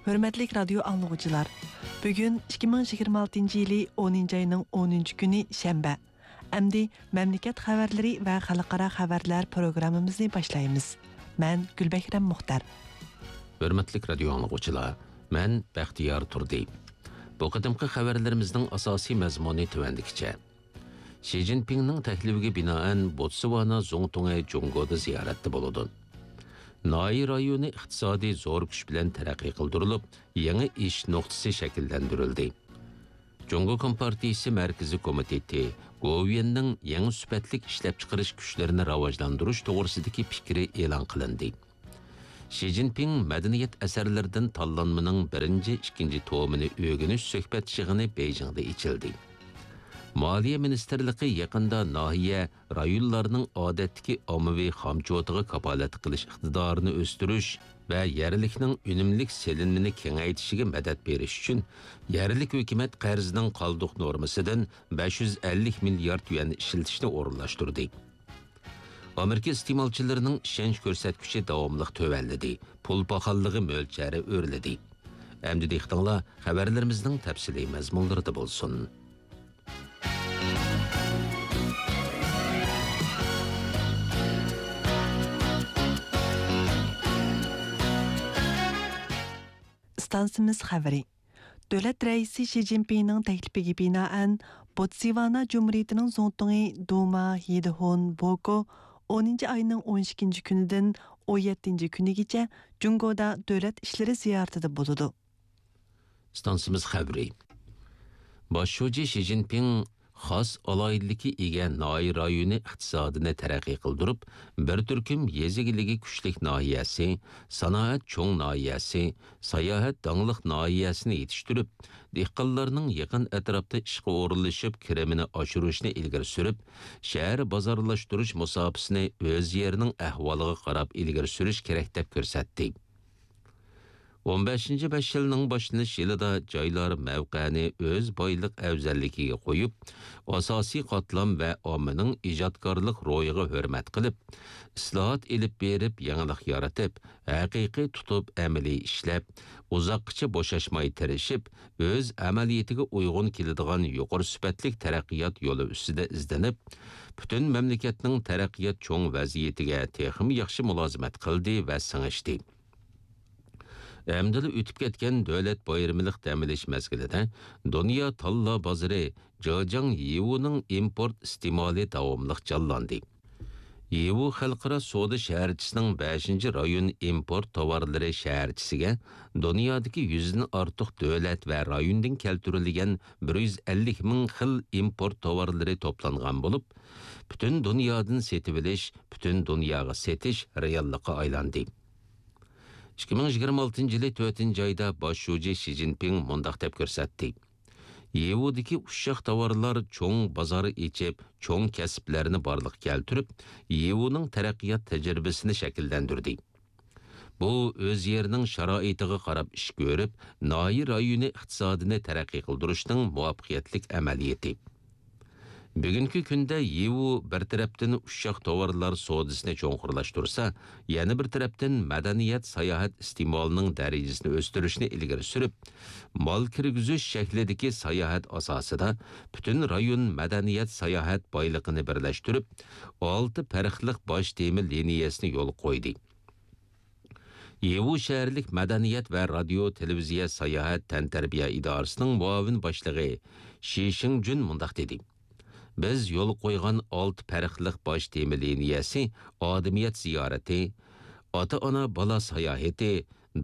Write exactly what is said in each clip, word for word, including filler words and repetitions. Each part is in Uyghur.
ھۆرمەتلىك رادىيو ئاڭلىغۇچىلار، بۈگۈن ئىككى مىڭ يىگىرمە ئالتىنچى يىلى ئونىنچى ئاينىڭ ئونىنچى كۈنى شەنبە. ئەمدى مەملىكەت خەۋەرلىرى ۋە خەلقئارا خەۋەرلەر پروگراممىمىزنى باشلايمىز. مەن گۈلبەھرەم مۇختەر. ھۆرمەتلىك رادىيو ئاڭلىغۇچىلار، مەن بەختىيار تۇردى. بۇ قېتىمقى خەۋەرلىرىمىزنىڭ ئاساسىي مەزمۇنى تۆۋەندىكىچە. شى جىنپىڭنىڭ تەكلىپىگە بىنائەن، بوتسۋانا زۇڭتۇڭى جۇڭگودا زىيارەتتە بولىدۇ. ناھىيە رايونى ئىقتىسادىي زور كۈچ بىلەن تەرەققىي قىلدۇرۇلۇپ، يېڭى ئېشىش نۇقتىسى شەكىللەندۈرۈلدى. جۇڭگو كومپارتىيىسى مەركىزىي كومىتېتى گوۋۇيۈەننىڭ يېڭى سۈپەتلىك ئىشلەپچىقىرىش كۈچلىرىنى راۋاجلاندۇرۇش توغرىسىدىكى پىكرى ئېلان قىلىندى. شى جىنپىڭ مەدەنىيەت ئەسەرلىرىدىن تاللانمىنىڭ بىرىنچى، ئىككىنچى تومىنى ئۆگىنىش سۆھبەت يىغىنى بېيجىڭدا ئېچىلدى. مالىيە مىنىستىرلىقى يېقىندا ناھىيە، رايونلارنىڭ ئادەتتىكى ئاممىۋى خامچوتىغا كاپالەتلىك قىلىش ئىقتىدارىنى ئۆستۈرۈش ۋە يەرلىكنىڭ ئۈنۈملۈك سېلىنمىنى كېڭەيتىشىگە مەدەت بېرىش ئۈچۈن، يەرلىك ھۆكۈمەت قەرزىنىڭ قالدۇق نورمىسىدىن بەش يۈز ئەللىك مىليارد يۈەن ئىشلىتىشنى ئورۇنلاشتۇردى. ئامېرىكا ئىستېمالچىلىرىنىڭ ئىشەنچ كۆرسەتكۈچى داۋاملىق تۆۋەنلىدى، پۇل پاخاللىقى مۆلچەرى ئۆرلىدى. ئەمدى دىققىتىڭلار خەۋەرلىرىمىزنىڭ تەپسىلىي مەزمۇنلىرىدا بولسۇن. ئىستانسىمىز خەۋىرى. دۆلەت رەئىسى شى جىنپىڭنىڭ تەكلىپىگە بىنائەن، بوتسۋانا جۇمھۇرىيىتىنىڭ زۇڭتۇڭى دۇما ھېدىھون بوكو ئونىنچى ئاينىڭ ئون ئىككىنچى كۈنىدىن ئون يەتتىنچى كۈنىگىچە جۇڭگودا دۆلەت ئىشلىرى زىيارىتىدە بولىدۇ. ئىستانسىمىز خەۋىرى. باش شۇجى شى جىنپىڭ خاس ئالاھىدىلىككە ئىگە ناھىيە رايونى ئىقتىسادىنى تەرەققىي قىلدۇرۇپ، بىر تۈركۈم يېزا ئىگىلىكى كۈچلۈك ناھىيەسى، سانائەت چوڭ ناھىيەسى، ساياھەت داڭلىق ناھىيەسىنى يېتىشتۈرۈپ، دېھقانلارنىڭ يېقىن ئەتراپتا ئىشقا ئورۇنلىشىپ، كىرىمىنى ئاشۇرۇشنى ئىلگىرى سۈرۈپ، شەھەر بازارلاشتۇرۇش مۇساپىسىنى ئۆز يېرىنىڭ ئەھۋالىغا قاراپ ئىلگىرى سۈرۈش كېرەك، دەپ كۆرسەتتى. ئون بەشىنچى بەش يىلنىڭ باشلىنىش يىلىدا جايلار مەۋقەنى ئۆز بايلىق ئەۋزەللىكىگە قويۇپ، ئاساسىي قاتلام ۋە ئاممىنىڭ ئىجادكارلىق روھىغا ھۆرمەت قىلىپ، ئىسلاھات ئېلىپ بېرىپ، يېڭىلىق يارىتىپ، ھەقىقىي تۇتۇپ ئەمەلىي ئىشلەپ، ئۇزاققىچە بوشاشماي تىرىشىپ، ئۆز ئەمەلىيىتىگە ئۇيغۇن كېلىدىغان يۇقىرى سۈپەتلىك تەرەققىيات يولى ئۈستىدە ئىزدىنىپ، پۈتۈن مەملىكەتنىڭ تەرەققىيات چوڭ ۋەزىيىتىگە تېخىمۇ ياخشى مۇلازىمەت قىلدى ۋە سىڭىشتى. ئەمدىلا ئۆتۈپ كەتكەن دۆلەت بايرىملىق دەم ئېلىش مەزگىلىدە دۇنيا تاللا بازىرى جېجياڭ يىۋۇنىڭ ئىمپورت ئىستېمالى داۋاملىق جانلاندى. يىۋۇ خەلقئارا سودا شەھەرچىسىنىڭ بەشىنچى رايون ئىمپورت تاۋارلىرى شەھەرچىسىگە دۇنيادىكى يۈزدىن ئارتۇق دۆلەت ۋە رايوندىن كەلتۈرۈلگەن بىر يۈز ئەللىك مىڭ خىل ئىمپورت تاۋارلىرى توپلانغان بولۇپ، پۈتۈن دۇنيادىن سېتىۋېلىش، پۈتۈن دۇنياغا سېتىش رېئاللىققا ئايلاندى. ئىككى مىڭ يىگىرمە ئالتىنچى يىلى تۆتىنچى ئايدا باش شۇجى شى جىنپىڭ مۇنداق دەپ كۆرسەتتى: يىۋۇدىكى ئۇششاق تاۋارلار چوڭ بازار ئېچىپ، چوڭ كەسىپلەرنى بارلىققا كەلتۈرۈپ، يىۋۇنىڭ تەرەققىيات تەجرىبىسىنى شەكىللەندۈردى. بۇ ئۆز يېرىنىڭ شارائىتىغا قاراپ ئىش كۆرۈپ، ناھىيە رايونى ئىقتىسادىنى تەرەققىي قىلدۇرۇشنىڭ مۇۋەپپەقىيەتلىك ئەمەلىيىتى. بۈگۈنكى كۈندە يىۋۇ بىر تەرەپتىن ئۇششاق تاۋارلار سودىسىنى چوڭقۇرلاشتۇرسا، يەنە بىر تەرەپتىن مەدەنىيەت، ساياھەت ئىستېمالىنىڭ دەرىجىسىنى ئۆستۈرۈشنى ئىلگىرى سۈرۈپ، مال كىرگۈزۈش شەكلىدىكى ساياھەت ئاساسىدا پۈتۈن رايون مەدەنىيەت، ساياھەت بايلىقىنى بىرلەشتۈرۈپ، ئالتە پەرقلىق باش تېما لىنىيەسىنى يولغا قويدى. يىۋۇ شەھەرلىك مەدەنىيەت ۋە رادىيو، تېلېۋىزىيە، ساياھەت، تەنتەربىيە ئىدارىسىنىڭ مۇئاۋىن باشلىقى شى شىڭجۈن مۇنداق دېدى: بىز يولغا قويغان ئالتە پەرقلىق باش تېما لىنىيەسى ئادىمىيەت زىيارىتى، ئاتا-ئانا بالا ساياھىتى،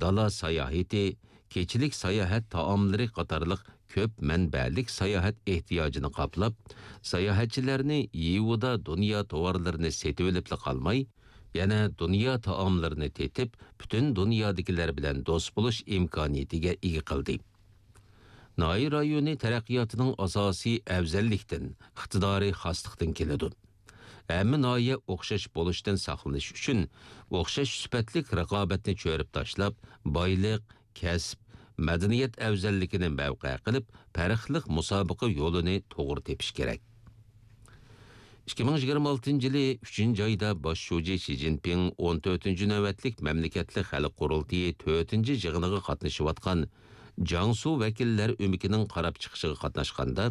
دالا ساياھىتى، كېچىلىك ساياھەت تائاملىرى قاتارلىق كۆپ مەنبەلىك ساياھەت ئېھتىياجىنى قاپلاپ، ساياھەتچىلەرنى يىۋۇدا دۇنيا تاۋارلىرىنى سېتىۋېلىپلا قالماي، يەنە دۇنيا تائاملىرىنى تېتىپ، پۈتۈن دۇنيادىكىلەر بىلەن دوست بولۇش ئىمكانىيىتىگە ئىگە قىلدى. ناھىيە رايونى تەرەققىياتىنىڭ ئاساسى ئەۋزەللىكتىن، ئىقتىدارى خاسلىقتىن كېلىدۇ. ھەممە ناھىيە ئوخشاش بولۇشتىن ساقلىنىش ئۈچۈن، ئوخشاش سۈپەتلىك رىقابەتنى چۆرۈپ تاشلاپ، بايلىق، كەسىپ، مەدەنىيەت ئەۋزەللىكىنى مەۋقە قىلىپ، پەرقلىق مۇسابىقە يولىنى توغرا تېپىش كېرەك. ئىككى مىڭ يىگىرمە ئالتىنچى يىلى ئۈچىنچى ئايدا باش شۇجى شى جىنپىڭ ئون تۆتىنچى نۆۋەتلىك مەملىكەتلىك خەلق قۇرۇلتىيى تۆتىنچى يىغىنىغا قاتنىشىۋاتقان جياڭسۇ ۋەكىللەر ئۆمىكىنىڭ قاراپ چىقىشىغا قاتناشقاندا،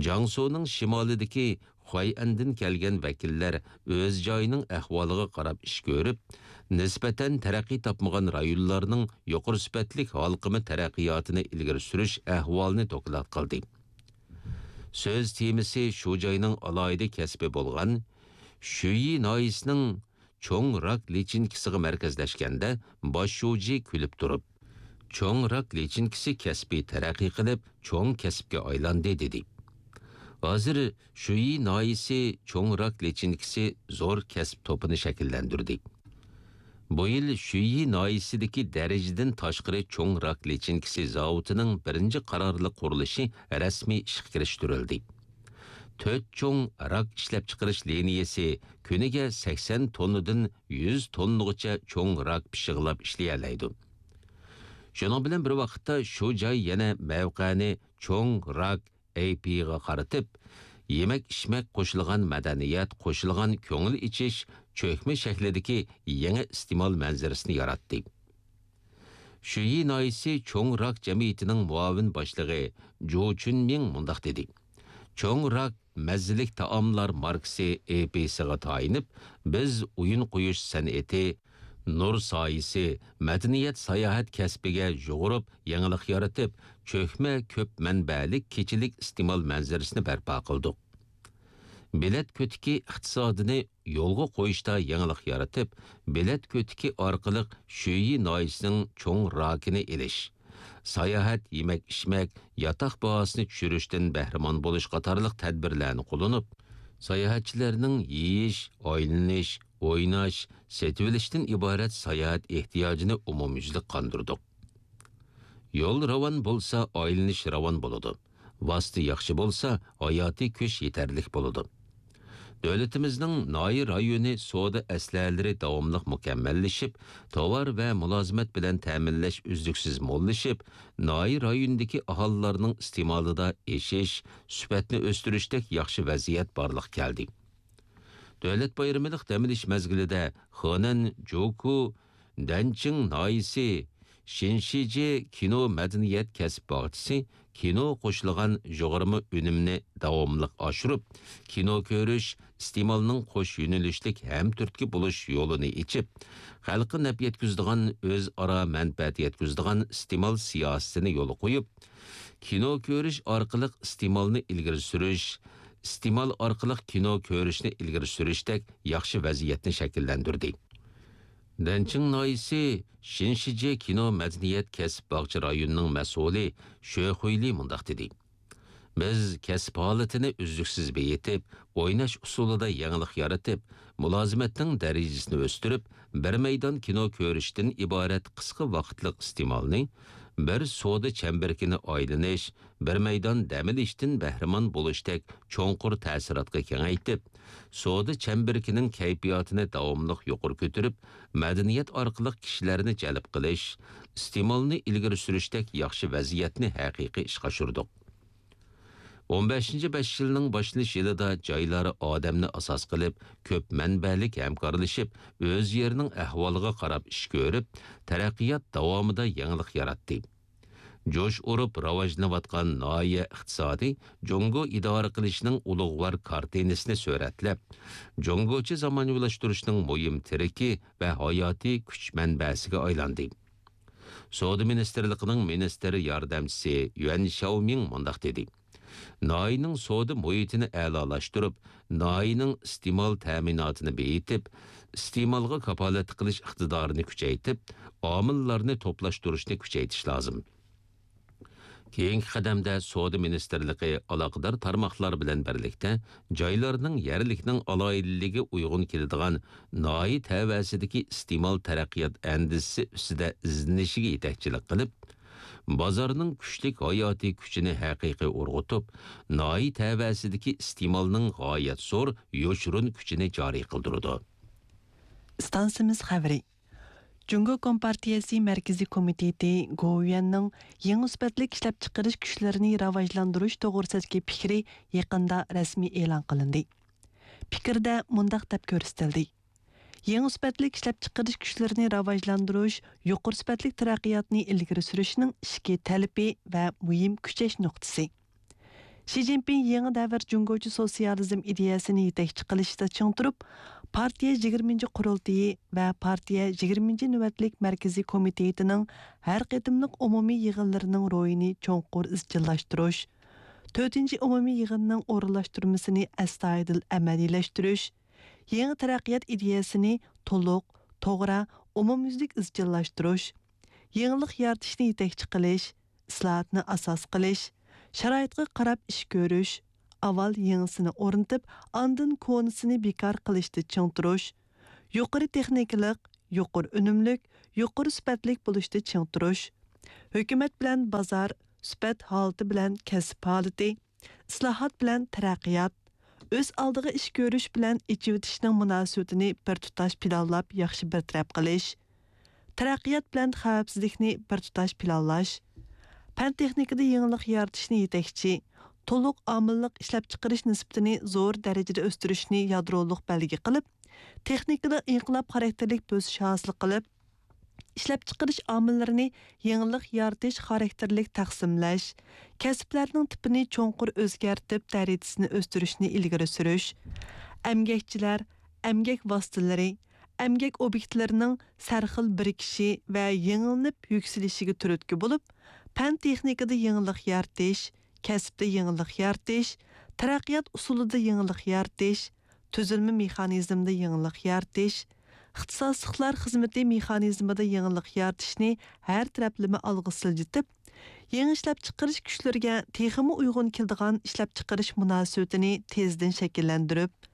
جياڭسۇنىڭ شىمالىدىكى خۇەيئەندىن كەلگەن ۋەكىللەر ئۆز جايىنىڭ ئەھۋالىغا قاراپ ئىش كۆرۈپ، نىسبەتەن تەرەققىي تاپمىغان رايونلارنىڭ يۇقىرى سۈپەتلىك ھالقىما تەرەققىياتىنى ئىلگىرى سۈرۈش ئەھۋالىنى دوكلات قىلدى. سۆز تېمىسى شۇ جاينىڭ ئالاھىدە كەسپى بولغان شۈيى ناھىيىسىنىڭ چوڭ راك لىچىنكىسىغا مەركەزلەشكەندە، باش شۇجى كۈلۈپ تۇرۇپ، چوڭ راك لىچىنكىسى كەسپى تەرەققىي قىلىپ، چوڭ كەسىپكە ئايلاندى، دېدى. ھازىر شۈيى ناھىيىسى چوڭ راك لىچىنكىسى زور كەسىپ توپىنى شەكىللەندۈردى. بۇ يىل شۈيى ناھىيىسىدىكى دەرىجىدىن تاشقىرى چوڭ راك لىچىنكىسى زاۋۇتىنىڭ بىرىنچى قارارلىق قۇرۇلۇشى رەسمىي ئىشقا كىرىشتۈرۈلدى. تۆت چوڭ راك ئىشلەپچىقىرىش لىنىيەسى كۈنىگە سەكسەن توننىدىن يۈز توننىغىچە چوڭ راك پىششىقلاپ ئىشلىيەلەيدۇ. شۇنىڭ بىلەن بىر ۋاقىتتا، شۇ جاي يەنە مەۋقەنى چوڭ راك ئەيپىغا قارىتىپ، يېمەك-ئىچمەك قوشۇلغان مەدەنىيەت، قوشۇلغان كۆڭۈل ئېچىش، چۆكمە شەكلىدىكى يېڭى ئىستېمال مەنزىرىسىنى ياراتتى. شۈيى ناھىيىسى چوڭ راك جەمئىيىتىنىڭ مۇئاۋىن باشلىقى جۇ چۈنمىڭ مۇنداق دېدى: چوڭ راك مەززىلىك تائاملار ماركىسى ئېپىسىغا تايىنىپ، بىز ئويۇن قويۇش سەنئىتى، نۇر سايىسى، مەدەنىيەت، ساياھەت كەسپىگە يۇغۇرۇپ، يېڭىلىق يارىتىپ، چۆكمە كۆپ مەنبەلىك كېچىلىك ئىستېمال مەنزىرىسىنى بەرپا قىلدۇق. بېلەت كۆتىكى ئىقتىسادىنى يولغا قويۇشتا يېڭىلىق يارىتىپ، بېلەت كۆتىكى ئارقىلىق شۈيى ناھىيىسىنىڭ چوڭ راكىنى ئېلىش، ساياھەت، يېمەك-ئىچمەك، ياتاق باھاسىنى چۈشۈرۈشتىن بەھرىمەن بولۇش قاتارلىق تەدبىرلەرنى قوللىنىپ، ساياھەتچىلەرنىڭ يېيىش، ئايلىنىش، ئويناش، سېتىۋېلىشتىن ئىبارەت ساياھەت ئېھتىياجىنى ئومۇميۈزلۈك قاندۇردۇق. يول راۋان بولسا، ئايلىنىش راۋان بولىدۇ. ۋاسىتە ياخشى بولسا، ھاياتىي كۈچ يېتەرلىك بولىدۇ. دۆلىتىمىزنىڭ ناھىيە رايونى سودا ئەسلىھەلىرى داۋاملىق مۇكەممەللىشىپ، تاۋار ۋە مۇلازىمەت بىلەن تەمىنلەش ئۈزلۈكسىز موللىشىپ، ناھىيە رايونىدىكى ئاھالىلەرنىڭ ئىستېمالىدا ئېشىش، سۈپەتنى ئۆستۈرۈشتەك ياخشى ۋەزىيەت بارلىققا كەلدى. دۆلەت بايرىملىق دەم ئېلىش مەزگىلىدە خېنەن جوكۇ دەنچىڭ ناھىيىسى شىنشىجې كىنو مەدەنىيەت كەسىپ باغچىسى كىنو قوشۇلغان يۇغۇرما ئۈنۈمنى داۋاملىق ئاشۇرۇپ، كىنو كۆرۈش، ئىستېمالنىڭ قوش يۆنىلىشلىك ھەمتۈرتكە بولۇش يولىنى ئېچىپ، خەلققە نەپ يەتكۈزىدىغان، ئۆزئارا مەنپەئەت يەتكۈزىدىغان ئىستېمال سىياسىتىنى يولغا قويۇپ، كىنو كۆرۈش ئارقىلىق ئىستېمالنى ئىلگىرى سۈرۈش، ئىستېمال ئارقىلىق كىنو كۆرۈشنى ئىلگىرى سۈرۈشتەك ياخشى ۋەزىيەتنى شەكىللەندۈردى. دەنچىڭ ناھىيىسى شىنشىجې كىنو مەدەنىيەت كەسىپ باغچە رايونىنىڭ مەسئۇلى شۆ خۇيلى مۇنداق دېدى: بىز كەسىپ ھالىتىنى ئۈزلۈكسىز بېيىتىپ، ئويناش ئۇسۇلىدا يېڭىلىق يارىتىپ، مۇلازىمەتنىڭ دەرىجىسىنى ئۆستۈرۈپ، بىر مەيدان كىنو كۆرۈشتىن ئىبارەت قىسقا ۋاقىتلىق ئىستېمالنى بىر سودا چەمبىرىكىنى ئايلىنىش، بىر مەيدان دەم ئېلىشتىن بەھرىمەن بولۇشتەك چوڭقۇر تەسىراتقا كېڭەيتىپ، سودا چەمبىرىكىنىڭ كەيپىياتىنى داۋاملىق يۇقىرى كۆتۈرۈپ، مەدەنىيەت ئارقىلىق كىشىلەرنى جەلپ قىلىش، ئىستېمالنى ئىلگىرى سۈرۈشتەك ياخشى ۋەزىيەتنى ھەقىقىي ئىشقا ئاشۇردۇق. ئون بەشىنچى بەش يىلنىڭ باشلىنىش يىلىدا جايلار ئادەمنى ئاساس قىلىپ، كۆپ مەنبەلىك ھەمكارلىشىپ، ئۆز يېرىنىڭ ئەھۋالىغا قاراپ ئىش كۆرۈپ، تەرەققىيات داۋامىدا يېڭىلىق ياراتتى. جۇش ئۇرۇپ راۋاجلىنىۋاتقان ناھىيە ئىقتىسادى جۇڭگو ئىدارە قىلىشنىڭ ئۇلۇغۋار كارتىنىسىنى سۈرەتلەپ، جۇڭگوچە زامانىۋىلاشتۇرۇشنىڭ مۇھىم تىرىكى ۋە ھاياتىي كۈچ مەنبەسىگە ئايلاندى. سودا مىنىستىرلىقىنىڭ مىنىستىر ياردەمچىسى يۈەن شياۋمىڭ مۇنداق دېدى: ناھىيەنىڭ سودا مۇھىتىنى ئەلالاشتۇرۇپ، ناھىيەنىڭ ئىستېمال تەمىناتىنى بېيىتىپ، ئىستېمالغا كاپالەتلىك قىلىش ئىقتىدارىنى كۈچەيتىپ، ئامىللارنى توپلاشتۇرۇشنى كۈچەيتىش لازىم. كېيىنكى قەدەمدە سودا مىنىستىرلىقى ئالاقىدار تارماقلار بىلەن بىرلىكتە جايلارنىڭ يەرلىكنىڭ ئالاھىدىلىكىگە ئۇيغۇن كېلىدىغان ناھىيە تەۋەسىدىكى ئىستېمال تەرەققىيات ئەندىزىسى ئۈستىدە ئىزدىنىشىگە يېتەكچىلىك قىلىپ، بازارنىڭ كۈچلۈك ھاياتىي كۈچىنى ھەقىقىي ئۇرغۇتۇپ، ناھىيە تەۋەسىدىكى ئىستېمالنىڭ غايەت زور يوشۇرۇن كۈچىنى جارى قىلدۇرىدۇ. ئىستانسىمىز خەۋىرى. جۇڭگو كومپارتىيەسى مەركىزىي كومىتېتى گوۋۇيۈەننىڭ يېڭى سۈپەتلىك ئىشلەپچىقىرىش كۈچلىرىنى راۋاجلاندۇرۇش توغرىسىدىكى پىكرى يېقىندا رەسمىي ئېلان قىلىندى. پىكىردە مۇنداق دەپ كۆرسىتىلدى: يېڭى سۈپەتلىك ئىشلەپچىقىرىش كۈچلىرىنى راۋاجلاندۇرۇش يۇقىرى سۈپەتلىك تەرەققىياتنى ئىلگىرى سۈرۈشنىڭ ئىچكى تەلىپى ۋە مۇھىم كۈچەش نۇقتىسى. شى جىنپىڭ يېڭى دەۋر جۇڭگوچە سوتسىيالىزم ئىدىيەسىنى يېتەكچى قىلىشتا چىڭ تۇرۇپ، پارتىيە يىگىرمىنچى قۇرۇلتىيى ۋە پارتىيە يىگىرمىنچى نۆۋەتلىك مەركىزىي كومىتېتىنىڭ ھەر قېتىملىق ئومۇمىي يىغىنلىرىنىڭ روھىنى چوڭقۇر ئىزچىللاشتۇرۇش، تۆتىنچى ئومۇمىي يىغىننىڭ ئورۇنلاشتۇرمىسىنى ئەستايىدىل ئەمەلىيلەشتۈرۈش، يېڭى تەرەققىيات ئىدىيەسىنى تولۇق، توغرا، ئومۇميۈزلۈك ئىزچىللاشتۇرۇش، يېڭىلىق يارىتىشنى يېتەكچى قىلىش، ئىسلاھاتنى ئاساس قىلىش، شارائىتقا قاراپ ئىش كۆرۈش، ئاۋۋال يېڭىسىنى ئورنىتىپ، ئاندىن كونىسىنى بىكار قىلىشتا چىڭ تۇرۇش، يۇقىرى تېخنىكىلىق، يۇقىرى ئۈنۈملۈك، يۇقىرى سۈپەتلىك بولۇشتا چىڭ تۇرۇش، ھۆكۈمەت بىلەن بازار، سۈپەت ھالىتى بىلەن كەسىپ ھالىتى، ئىسلاھات بىلەن تەرەققىيات، ئۆز ئالدىغا ئىش كۆرۈش بىلەن ئېچىۋېتىشنىڭ مۇناسىۋىتىنى بىر تۇتاش پىلانلاپ ياخشى بىر تەرەپ قىلىش، تەرەققىيات بىلەن خەۋپسىزلىكنى بىر تۇتاش پىلانلاش، پەن تېخنىكىدا يېڭىلىق يارىتىشنى يېتەكچى، تولۇق ئامىللىق ئىشلەپچىقىرىش نىسبىتىنى زور دەرىجىدە ئۆستۈرۈشنى يادرولۇق بەلگە قىلىپ، تېخنىكىدا ئىنقىلاب خاراكتېرلىك بۆسۈش ھاسىل قىلىپ، ئىشلەپچىقىرىش ئامىللىرىنى يېڭىلىق يارىتىش خاراكتېرلىك تەقسىملەش، كەسىپلەرنىڭ تىپىنى چوڭقۇر ئۆزگەرتىپ، دەرىجىسىنى ئۆستۈرۈشنى ئىلگىرى سۈرۈش، ئەمگەكچىلەر، ئەمگەك ۋاسىتىلىرى، ئەمگەك ئوبيېكتلىرىنىڭ سەرخىل بىرىكىشى ۋە يېڭىلىنىپ يۈكسىلىشىگە تۈرتكە بولۇپ، پەن تېخنىكىدا يېڭىلىق يارىتىش، كەسىپتە يېڭىلىق يارىتىش، تەرەققىيات ئۇسۇلىدا يېڭىلىق يارىتىش، تۈزۈلمە مېخانىزمىدا يېڭىلىق يارىتىش، ئىختىساسلىقلار خىزمىتى مېخانىزمىدا يېڭىلىق يارىتىشنى ھەر تەرەپلىمە ئالغا سىلجىتىپ، يېڭى ئىشلەپچىقىرىش كۈچلىرىگە تېخىمۇ ئۇيغۇن كېلىدىغان ئىشلەپچىقىرىش مۇناسىۋىتىنى تېزدىن شەكىللەندۈرۈپ،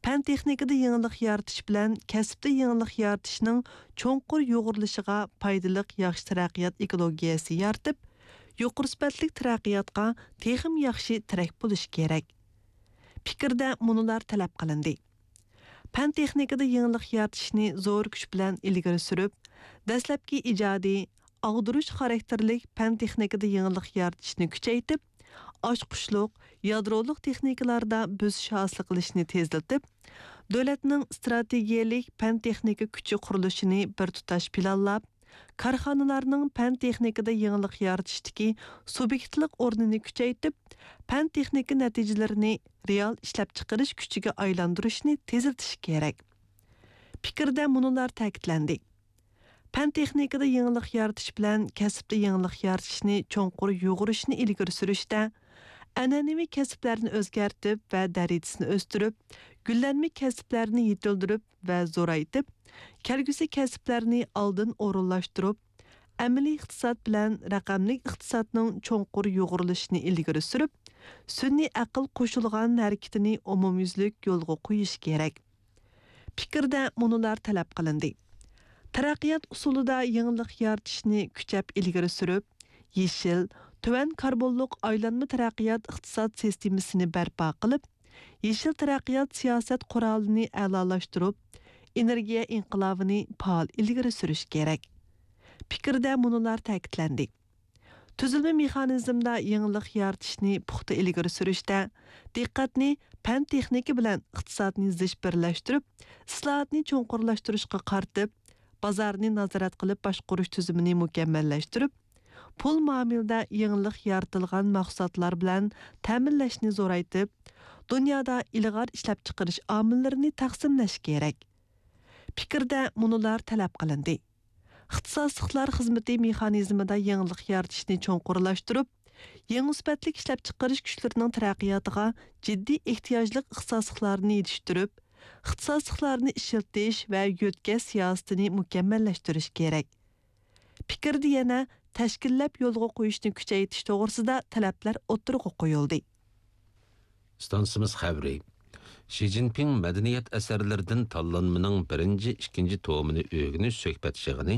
پەن تېخنىكىدا يېڭىلىق يارىتىش بىلەن كەسىپتە يېڭىلىق يارىتىشنىڭ چوڭقۇر يۇغۇرۇلۇشىغا پايدىلىق ياخشى تەرەققىيات ئېكولوگىيەسى يارىتىپ، يۇقىرى سۈپەتلىك تەرەققىياتقا تېخىمۇ ياخشى تىرەك بولۇشى كېرەك. پىكىردە مۇنۇلار تەلەپ قىلىندى: پەن تېخنىكىدا يېڭىلىق يارىتىشنى زور كۈچ بىلەن ئىلگىرى سۈرۈپ، دەسلەپكى ئىجادىي، ئاغدۇرۇش خاراكتېرلىك پەن تېخنىكىدا يېڭىلىق يارىتىشنى كۈچەيتىپ، ئاچقۇچلۇق، يادرولۇق تېخنىكىلاردا بۆسۈش ھاسىل قىلىشنى تېزلىتىپ، دۆلەتنىڭ ئىستراتېگىيەلىك پەن تېخنىكا كۈچى قۇرۇلۇشىنى بىر تۇتاش پىلانلاپ، كارخانىلارنىڭ پەن تېخنىكىدا يېڭىلىق يارىتىشتىكى سۇبيېكتلىق ئورنىنى كۈچەيتىپ، پەن تېخنىكا نەتىجىلىرىنى رېئال ئىشلەپچىقىرىش كۈچىگە ئايلاندۇرۇشنى تېزلىتىش كېرەك. پىكىردە مۇنۇلار تەكىتلەندى: پەن تېخنىكىدا يېڭىلىق يارىتىش بىلەن كەسىپتە يېڭىلىق يارىتىشنى چوڭقۇر يۇغۇرۇشنى ئىلگىرى سۈرۈشتە، ئەنئەنىۋى كەسىپلەرنى ئۆزگەرتىپ ۋە دەرىجىسىنى ئۆستۈرۈپ، گۈللەنمە كەسىپلەرنى يېتىلدۈرۈپ ۋە زورايتىپ، كەلگۈسى كەسىپلەرنى ئالدىن ئورۇنلاشتۇرۇپ، ئەمەلىي ئىقتىساد بىلەن رەقەملىك ئىقتىسادنىڭ چوڭقۇر يۇغۇرۇلۇشىنى ئىلگىرى سۈرۈپ، سۈنئىي ئەقىل قوشۇلغان ھەرىكىتىنى ئومۇميۈزلۈك يولغا قويۇش كېرەك. پىكىردە مۇنۇلار تەلەپ قىلىندى: تەرەققىيات ئۇسۇلىدا يېڭىلىق يارىتىشنى كۈچەپ ئىلگىرى سۈرۈپ، يېشىل، تۆۋەن كاربونلۇق ئايلانما تەرەققىيات ئىقتىساد سىستېمىسىنى بەرپا قىلىپ، يېشىل تەرەققىيات سىياسەت قورالىنى ئەلالاشتۇرۇپ، ئېنېرگىيە ئىنقىلابىنى پائال ئىلگىرى سۈرۈش كېرەك. پىكىردە مۇنۇلار تەكىتلەندى: تۈزۈلمە مېخانىزمىدا يېڭىلىق يارىتىشنى پۇختا ئىلگىرى سۈرۈشتە، دىققەتنى پەن تېخنىكا بىلەن ئىقتىسادنى زىچ بىرلەشتۈرۈپ، ئىسلاھاتنى چوڭقۇرلاشتۇرۇشقا قارىتىپ، بازارنى نازارەت قىلىپ باشقۇرۇش تۈزۈمىنى مۇكەممەللەشتۈرۈپ، پۇل مۇئامىلىدە يېڭىلىق يارىتىلغان مەھسۇلاتلار بىلەن تەمىنلەشنى زورايتىپ، دۇنيادا ئىلغار ئىشلەپچىقىرىش ئامىللىرىنى تەقسىملەش كېرەك. پىكىردە مۇنۇلار تەلەپ قىلىندى: ئىختىساسلىقلار خىزمىتى مېخانىزمىدا يېڭىلىق يارىتىشنى چوڭقۇرلاشتۇرۇپ، يېڭى سۈپەتلىك ئىشلەپچىقىرىش كۈچلىرىنىڭ تەرەققىياتىغا جىددىي ئېھتىياجلىق ئىختىساسلىقلارنى يېتىشتۈرۈپ، ئىختىساسلىقلارنى ئىشلىتىش ۋە يۆتكەش سىياسىتىنى مۇكەممەللەشتۈرۈش كېرەك. پىكىردە يەنە تەشكىللەپ يولغا قويۇشنى كۈچەيتىش توغرىسىدا تەلەپلەر ئوتتۇرىغا قويۇلدى. ئىستانسىمىز خەۋىرى. شى جىنپىڭ مەدەنىيەت ئەسەرلىرىدىن تاللانمىنىڭ بىرىنچى، ئىككىنچى تومىنى ئۆگىنىش سۆھبەت يىغىنى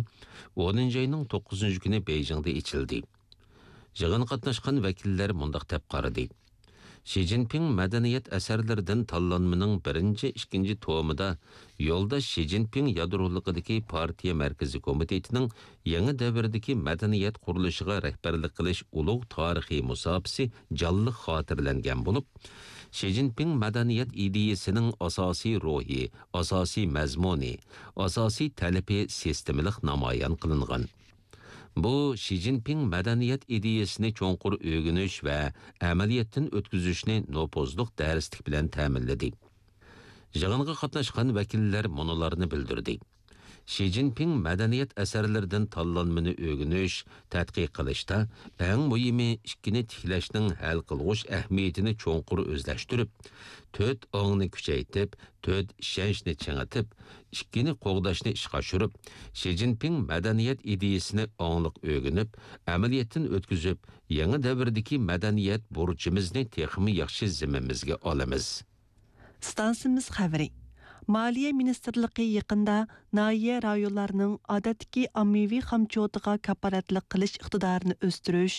ئونىنچى ئاينىڭ توققۇزىنچى كۈنى بېيجىڭدا ئېچىلدى. يىغىنغا قاتناشقان ۋەكىللەر مۇنداق دەپ قارىدى: شى جىنپىڭ مەدەنىيەت ئەسەرلىرىدىن تاللانمىنىڭ بىرىنچى، ئىككىنچى تومىدا يولداش شى جىنپىڭ يادرولۇقىدىكى پارتىيە مەركىزىي كومىتېتىنىڭ يېڭى دەۋردىكى مەدەنىيەت قۇرۇلۇشىغا رەھبەرلىك قىلىش ئۇلۇغ تارىخىي مۇساپىسى جانلىق خاتىرىلەنگەن بولۇپ، شى جىنپىڭ مەدەنىيەت ئىدىيەسىنىڭ ئاساسىي روھى، ئاساسىي مەزمۇنى، ئاساسىي تەلىپى سىستېمىلىق نامايان قىلىنغان. بۇ شى جىنپىڭ مەدەنىيەت ئىدىيەسىنى چوڭقۇر ئۆگىنىش ۋە ئەمەلىيەتتىن ئۆتكۈزۈشنى نوپۇزلۇق دەرسلىك بىلەن تەمىنلىدى. يىغىنغا قاتناشقان ۋەكىللەر مۇنۇلارنى بىلدۈردى: شى جىنپىڭ مەدەنىيەت ئەسەرلىرىدىن تاللانمىنى ئۆگىنىش، تەتقىق قىلىشتا ئەڭ مۇھىمى ئىككىنى تىكلەشنىڭ ھەل قىلغۇچ ئەھمىيىتىنى چوڭقۇر ئۆزلەشتۈرۈپ، تۆت ئاڭنى كۈچەيتىپ، تۆت ئىشەنچنى چىڭىتىپ، ئىككىنى قوغداشنى ئىشقا ئاشۇرۇپ، شى جىنپىڭ مەدەنىيەت ئىدىيەسىنى ئاڭلىق ئۆگىنىپ، ئەمەلىيەتتىن ئۆتكۈزۈپ، يېڭى دەۋردىكى مەدەنىيەت بۇرچىمىزنى تېخىمۇ ياخشى زىممىمىزگە ئالىمىز. ئىستانسىمىز خەۋىرى. مالىيە مىنىستىرلىقى يېقىندا ناھىيە رايونلارنىڭ ئادەتتىكى ئاممىۋى خامچوتىغا كاپالەتلىك قىلىش ئىقتىدارىنى ئۆستۈرۈش،